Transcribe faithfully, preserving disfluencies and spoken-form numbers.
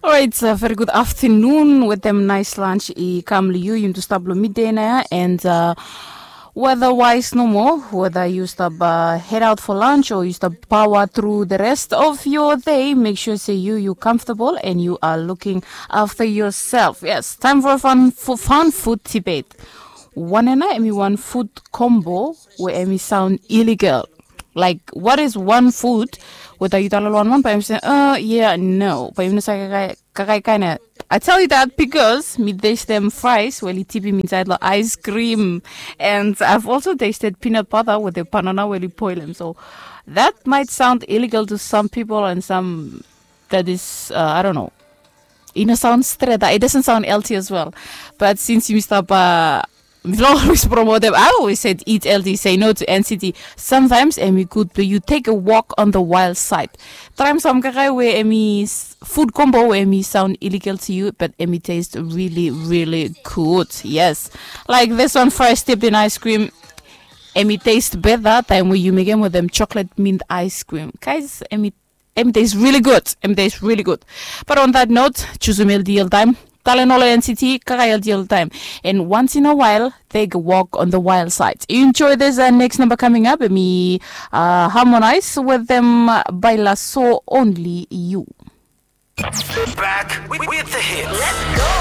Alright, uh, very good afternoon wetem nice lunch i kam long yu. Yu tu stap long midday na ya, and uh, weather wise nomo, whether yu stap uh, head out for lunch or yu stap power through the rest of your day, make sure say you you comfortable and you are looking after yourself. Yes, time for a fun, for fun food debate. One ena emi one food combo where emi sound illegal. Like, what is one food whether yu tala long one one, but emi say, uh, yeah, no, but emi no say kakae kakae kind of. I tell you that because mi taste them fries where li tibi inside the ice cream, and I've also tasted peanut butter with the banana where li boil them. So that might sound illegal to some people, and some that is, uh, I don't know. It doesn't sound straight. It doesn't sound healthy as well. But since you stop, uh, Vlog always promote them. I always said eat healthy, say no to N C T. Sometimes emi good, but you take a walk on the wild side. Try some kakae where emi food combo where emi sound illegal to you, but emi taste really, really good. Yes, like this one, fresh dipped in ice cream. Emi taste better time where you make them with them chocolate mint ice creem, guys. Emi Em taste really good. Em taste really good. But on that note, choose a meal deal time. Talent all N C T, kaka L D L time. And once in a while, take a walk on the wild side. Enjoy this uh, next number coming up. Me uh, harmonize with them uh, by La So Only You. Back with, with the hits.